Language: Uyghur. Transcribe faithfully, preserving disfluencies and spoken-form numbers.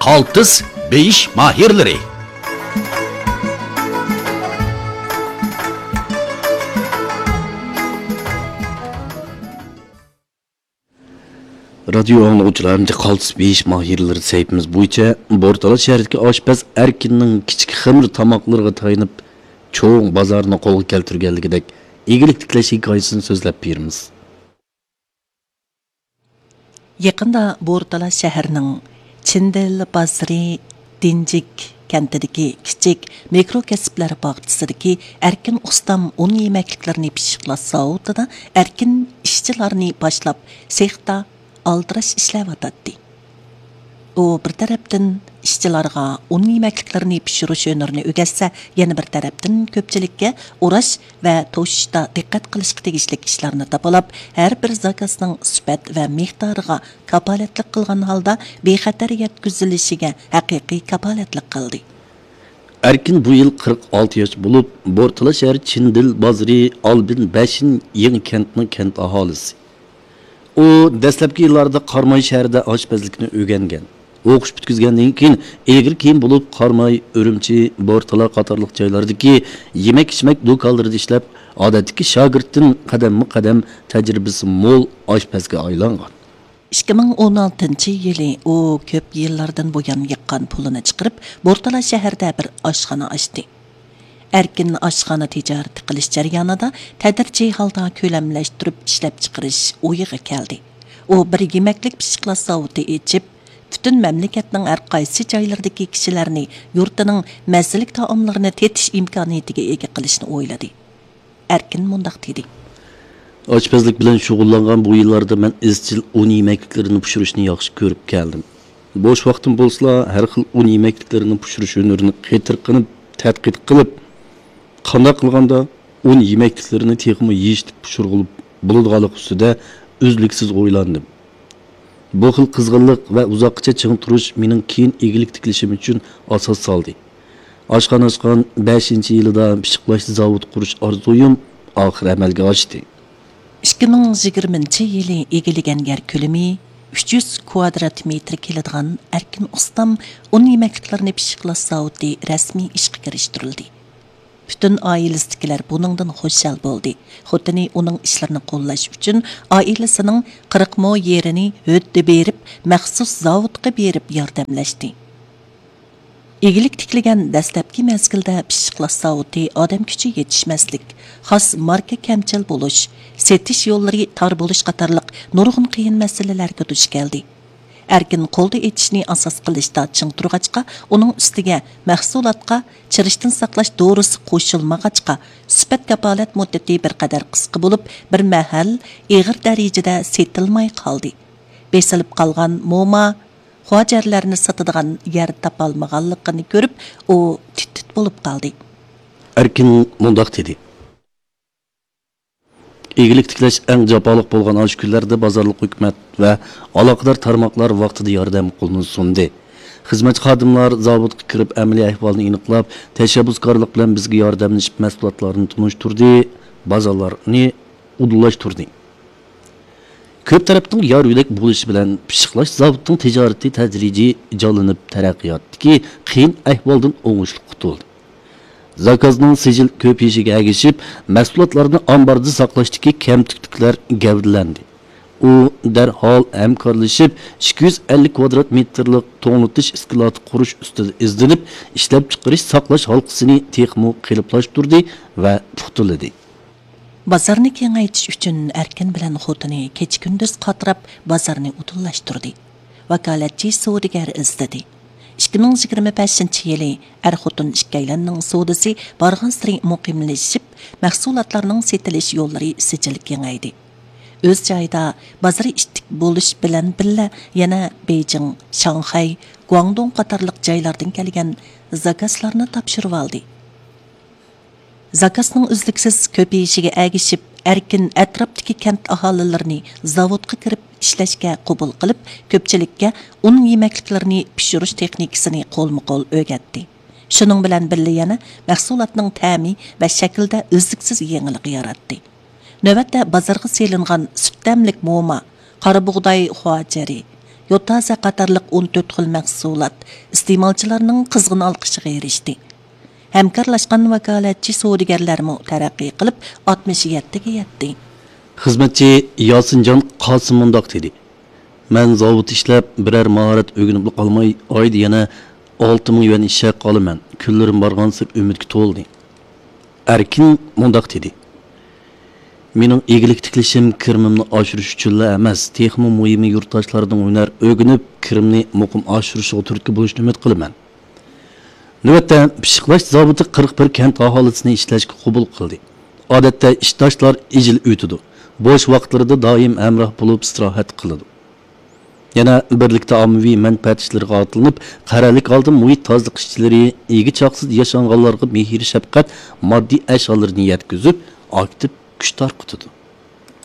قالتىس بېيىش ماھىرلىرى. رادىيو ئاڭلىغۇچىلار، ئەمدى قالتىس بېيىش ماھىرلىرى سەھىپىمىز بويىچە بورتالا شەھىرىدىكى ئاشپەز ئەركىننىڭ كىچىك خېمىر تاماقلىرىغا تايىنىپ، چوڭ بازارنى قولغا كەلتۈرگەنلىكىدەك ئىگىلىك تىكلەش ھېكايىسىنى سۆزلەپ بېرىمىز. يېقىندا بورتالا شەھىرىنىڭ چىندىل بازىرى دىنجىك كەنتىدىكى كىچىك مىكرو كەسىپلەر باغچىسىدىكى ئەركىن ئۇستام ئۇن يېمەكلىكلىرىنى پىششىقلاش زاۋۇتىدا ئەركىن ئىشچىلارنى باشلاپ، سېختا ئالدىراش ئىشلەۋاتاتتى. ئۇ بىر تەرەپتىن ئىشچىلارغا ئۇن يېمەكلىكلىرىنى پىشۇرۇش ھۈنىرىنى ئۆگەتسە، يەنە بىر تەرەپتىن كۆپچىلىككە ئوراش ۋە توشۇشتا دىققەت قىلىشقا تېگىشلىك ئىشلارنى تاپىلاپ، ھەر بىر زاكازنىڭ سۈپەت ۋە مىقدارىغا كاپالەتلىك قىلغان ھالدا بىخەتەر يەتكۈزۈلۈشىگە ھەقىقىي كاپالەتلىك قىلدى. ئەركىن بۇ يىل قىرىق ئالتە ياش بولۇپ، بورتالا شەھەر چىندىل بازىرى ئالبىن بەشىن يېڭى كەنتنىڭ كەنت ئاھالىسى. ئۇ دەسلەپكى يىللاردا قاراماي شەھىرىدە ئاشپەزلىكنى ئۆگەنگەن. ئوقۇش پۈتكۈزگەندىن كېيىن، ئېغىر كىيىم بولۇپ، قاراماي، ئۈرۈمچى، بورتالا قاتارلىق جايلاردىكى يېمەك-ئىچمەك دۇكانلىرىدا ئىشلەپ، ئادەتتىكى شاگىرتتىن قەدەممۇ قەدەم تەجرىبىسى مول ئاشپەزگە ئايلانغان. ئىككى مىڭ ئون ئالتىنچى يىلى ئۇ كۆپ يىللاردىن بۇيان يىغقان پۇلىنى چىقىرىپ، بورتالا شەھىرىدە بىر ئاشخانا ئاچتى. ئەركىن ئاشخانا تىجارىتى قىلىش جەريانىدا تەدرىجىي ھالدا كۆلەملەشتۈرۈپ ئىشلەپچىقىرىش ئويىغا كەلدى. ئۇ بىر يېمەكلىك پىششىقلاش زاۋۇتى ئېچىپ، پۈتۈن مەملىكەتنىڭ ھەر قايسى جايلىرىدىكى كىشىلەرنى يۇرتىنىڭ مەززىلىك تائاملىرىنى تېتىش ئىمكانىيىتىگە ئىگە قىلىشنى ئويلىدى. ئەركىن مۇنداق دېدى. ئاشپەزلىك بىلەن شۇغۇللانغان بۇ يىللاردا مەن ئىزچىل ئۇن يېمەكلىكلىرىنى پىشۇرۇشنى ياخشى كۆرۈپ كەلدىم. بوش ۋاقتىم بولسىلا، ھەر خىل ئۇن يېمەكلىكلىرىنى پىشۇرۇش ھۈنىرىنى قېتىرقىنىپ تەتقىق قىلىپ، قانداق قىلغاندا ئۇن يېمەكلىكلىرىنى تېخىمۇ يېيىشلىك پىشۇرغىلى بولىدىغانلىقى ئۈستىدە ئۈزلۈكسىز ئويلاندىم. بۇ خىل قىزغىنلىق ۋە ئۇزاققىچە چىڭ تۇرۇش مېنىڭ كېيىن ئىگىلىك تىكلىشىم ئۈچۈن ئاساس سالدى. ئاشخانا ئاچقان بەشىنچى يىلىدا پىششىقلاش زاۋۇتى قۇرۇش ئارزۇيۇم ئاخىر ئەمەلگە ئاشتى. ئىككى مىڭ يىگىرمىنچى يىلى ئىگىلىگەن يەر كۆلىمى ئۈچ يۈز كۋادرات مېتىر كېلىدىغان ئەركىن ئۇستام ئۇن يېمەكلىكلىرىنى پىششىقلاش زاۋۇتى رەسمىي ئىشقا كىرىشتۈرۈلدى. پۈتۈن ئائىلىسىدىكىلەر بۇنىڭدىن خۇشال بولدى. خوتۇنى ئۇنىڭ ئىشلىرىنى قوللاش ئۈچۈن ئائىلىسىنىڭ قىرىق مو يېرىنى ھۆددە بېرىپ، مەخسۇس زاۋۇتقا بېرىپ ياردەملەشتى. ئىگىلىك تىكلىگەن دەسلەپكى مەزگىلدە پىششىقلاش زاۋۇتى ئادەم كۈچى يېتىشمەسلىك، خاس ماركا كەمچىل بولۇش، سېتىش يوللىرى تار بولۇش قاتارلىق نۇرغۇن قىيىن مەسىلىلەرگە دۇچ كەلدى. ئەركىن قولدا ئېچىشنى ئاساس قىلىشتا چىڭ تۇرغاچقا، ئۇنىڭ ئۈستىگە مەھسۇلاتقا چىرىشتىن ساقلاش دورىسى قوشۇلمىغاچقا، سۈپەت كاپالەت مۇددىتى بىر قەدەر قىسقا بولۇپ، بىر مەھەل ئېغىر دەرىجىدە سېتىلماي قالدى. بېسىلىپ قالغان موما، خۇاجەرلەرنى ساتىدىغان يەر تاپالمىغانلىقىنى كۆرۈپ، ئۇ تىت-تىت بولۇپ قالدى. ئەركىن مۇنداق دېدى. ئىگىلىك تىكلەش ئەڭ جاپالىق بولغان ئاشۇ كۈنلەردە بازارلىق ھۆكۈمەت ۋە ئالاقىدار تارماقلار ۋاقتىدا ياردەم قولىنى سۇندى. خىزمەتچى خادىملار زاۋۇتقا كىرىپ، ئەمەلىي ئەھۋالنى ئېنىقلاپ، تەشەببۇسكارلىق بىلەن بىزگە ياردەملىشىپ، مەھسۇلاتلارنى تونۇشتۇردى، بازارلارنى ئۇدۇللاشتۇردى. كۆپ تەرەپنىڭ يار يۆلەك بولۇشى بىلەن، پىششىقلاش زاۋۇتىنىڭ تىجارىتى تەدرىجىي جانلىنىپ، تەرەققىياتتىكى قىيىن ئەھۋالدىن ئوڭۇشلۇق قۇتۇلدى. زاكازنىڭ سىجىل كۆپىيىشىگە ئەگىشىپ، مەھسۇلاتلارنى ئامباردا ساقلاشتىكى كەمتۈكلۈكلەر گەۋدىلەندى. ئۇ دەرھال ھەمكارلىشىپ، ئىككى يۈز ئەللىك كۋادرات مېتىرلىق توڭلىتىش ئىسكىلاتى قۇرۇش ئۈستىدە ئىزدىنىپ، ئىشلەپچىقىرىش ساقلاش ھالقىسىنى تېخىمۇ قېلىپلاشتۇردى ۋە پۇختىلىدى. بازارنى كېڭەيتىش ئۈچۈن ئەركىن بىلەن خوتۇنى كېچە-كۈندۈز قاتراپ بازارنى ئۇدۇللاشتۇردى. ۋاكالەتچى سودىگەر ئىزدىدى. ئىككى مىڭ يىگىرمە بەشىنچى يىلى ئەر-خوتۇن ئىككىيلەننىڭ سودىسى بارغانسېرى مۇقىملىشىپ، مەھسۇلاتلارنىڭ سېتىلىش يوللىرى سىجىل كېڭەيدى. ئۆز جايىدا بازىرى ئىتتىك بولۇش بىلەن بىللە، يەنە بېيجىڭ، شاڭخەي، گۇاڭدۇڭ قاتارلىق جايلاردىن كەلگەن زاكازلارنى تاپشۇرۇۋالدى. زاكازنىڭ ئۈزلۈكسىز كۆپىيىشىگە ئەگىشىپ، ئەركىن ئەتراپتىكى كەنت ئاھالىلىرىنى زاۋۇتقا كىرىپ ئىشلەشكە قوبۇل قىلىپ، كۆپچىلىككە ئۇن يېمەكلىكلىرىنى پىشۇرۇش تېخنىكىسىنى قولمۇ قول ئۆگەتتى. شۇنىڭ بىلەن بىللە، يەنە مەھسۇلاتنىڭ تەمى ۋە شەكلىدە ئۈزلۈكسىز يېڭىلىق ياراتتى. نۆۋەتتە بازارغا سېلىنغان سۈت تەملىك موما، قارا بۇغداي خۇاجەرى، يوتازا قاتارلىق ئون تۆت خىل مەھسۇلات ئىستېمالچىلارنىڭ قىزغىن ئالقىشىغا ئېرىشتى. ھەمكارلاشقان ۋاكالەتچى سودىگەرلەرمۇ تەرەققىي قىلىپ، ئاتمىش يەتتىگە يەتتى. خىزمەتچى ياسىنجان قاسىم مۇنداق دېدى: مەن زاۋۇتتا ئىشلەپ، بىرەر ماھارەت ئۆگىنىپلا قالماي، ئايدا يەنە ئالتە مىڭ يۈەن ئىش ھەققى ئالىمەن. كۈنلىرىم بارغانسېرى ئۈمىدكە تولدى. ئەركىن مۇنداق دېدى: مېنىڭ ئىگىلىك تىكلىشىم كىرىمىمنى ئاشۇرۇش ئۈچۈنلا ئەمەس، تېخىمۇ مۇھىمى يۇرتداشلاردىن ھۈنەر ئۆگىنىپ، كىرىمنى مۇقىم ئاشۇرۇشىغا تۈرتكە بولۇشنى ئۈمىد قىلىمەن. نۆۋەتتە پىششىقلاش زاۋۇتى قىرىق بىر كەنت ئاھالىسىنى ئىشلەشكە قوبۇل قىلدى. ئادەتتە ئىشداشلار ئىجىل ئۆتىدۇ. بوش ۋاقىتلىرىدا دائىم ھەمراھ بولۇپ ئىستىراھەت قىلىدۇ. يەنە بىرلىكتە ئاممىۋى مەنپەئەت ئىشلىرىغا ئاتلىنىپ، قەرەللىك ھالدا مۇھىت تازىلىق ئىشچىلىرى، ئىگە چاقىسىدا ياشانغانلارغا مېھىر شەپقەت، ماددىي ئەشيالىرىنى يەتكۈزۈپ، ئاكتىپ كۈچ تارقىتىدۇ.